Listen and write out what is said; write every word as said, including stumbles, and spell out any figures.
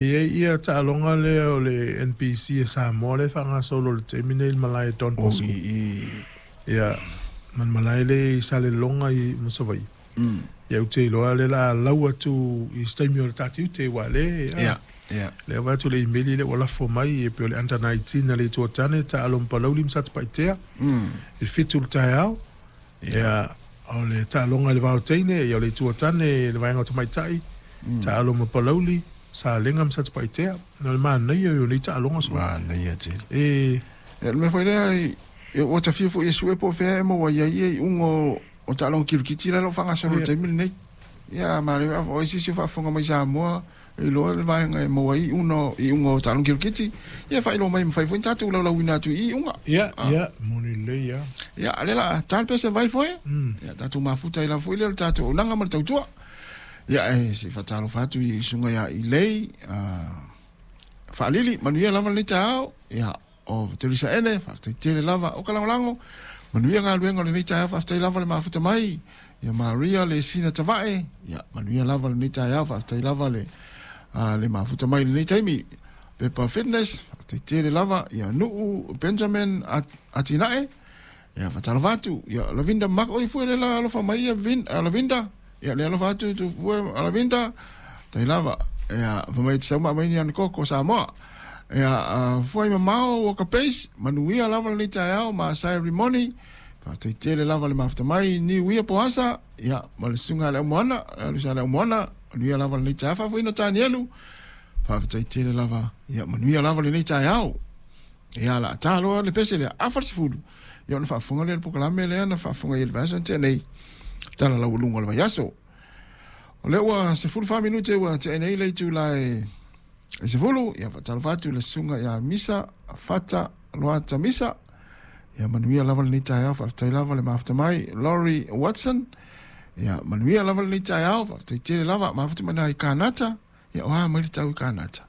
Ia ia taaloga lea o le N P C e Samoa le faagasolo le taimi nei i le malae Don Bosco. Ia ma le malae lea i Saleloga i ma Savaii. Ia ou te iloa le la lau atu i se taimi o le tatiute ua le Ia, ia. Lea va atu le email le ua lafo mai e pei o le under nineteen a le Itu o Tane taalo ma Palauli ma Satupaitea. I le fitu le taeao. Ia o le taaloga i le vaoteine ia o le Itu o Tane i le vaega o tamaitai taalo ma Palauli Salega ma Satupaitea. No le manaia o nei taaloga so. Manaia tele. E E le mea foi lea i ua tafia foi e sue po o fea e maua ai ai iuga o o taaloga kirikiti la lo faagasolo i le taimi lenei. Ia ma le o isi si faafofoga mai Samoa i loa le vaega e maua ai iuga iuga o taaloga kirikiti. Ia faailoa mai mafai foi ona tatou laulauina atu i iuga. Ia, ia, moni lelei ia. Ia, le la ta le pese vai foi. Ia tatou mafuta i la foi le o le tatou auaunaga ma le tautua. Ia e se faatalofa atu i susuga ia Ilei Faalili, manuia lava lenei taeao. Ia o Teresa Ene, faafetai tele lava o ka lagolago. Manuia galuega o lenei taeao, faafetai lava le mafuta mai. Ia Maria le sina tavae, ia manuia lava lenei taeao, faafetai lava le le mafuta mai lenei taimi. Pepa Fitness, faafetai tele lava. Ia Nuu Benjamin Atinae, ia faatalofa atu. Ia Lavinda Mak, oi fue le la alofa mai ia Vin, Lavinda. Ia le alofa atu tu fue Lavinda. Tai lava. Ia fa mai te sauma mai ni ana koko Samoa. Ia fue mamao o ka pace, manuia lava lenei taeao ma sai rimoni. Faafetai tele lava le mafuta mai ni uia poasa. Ia ma le susuga le aumoana, le susuga le aumoana, manuia lava lenei taeao faafoeina Tanielu. Faafetai tele lava. Ia manuia lava lenei taeao. Ia la taloa le pese lea afa le sefulu. Ia ona faafofoga lea le polokalame lea na faafofoga i le vaiaso na tea nei. Tala laualuga o le vaiaso. O lea ua sefulu fa minute ua tea nei le itula e sefulu. Ia faatalofa atu le susuga ia Misa Fata Loata Misa. Ia manuia lava lenei taeao, faafetai lava le mafuta mai Laurie Watson. Ia manuia lava lenei taeao, faafetai tele lava mafuta mai i Kanata. Ia oa mai le tau i Kanata.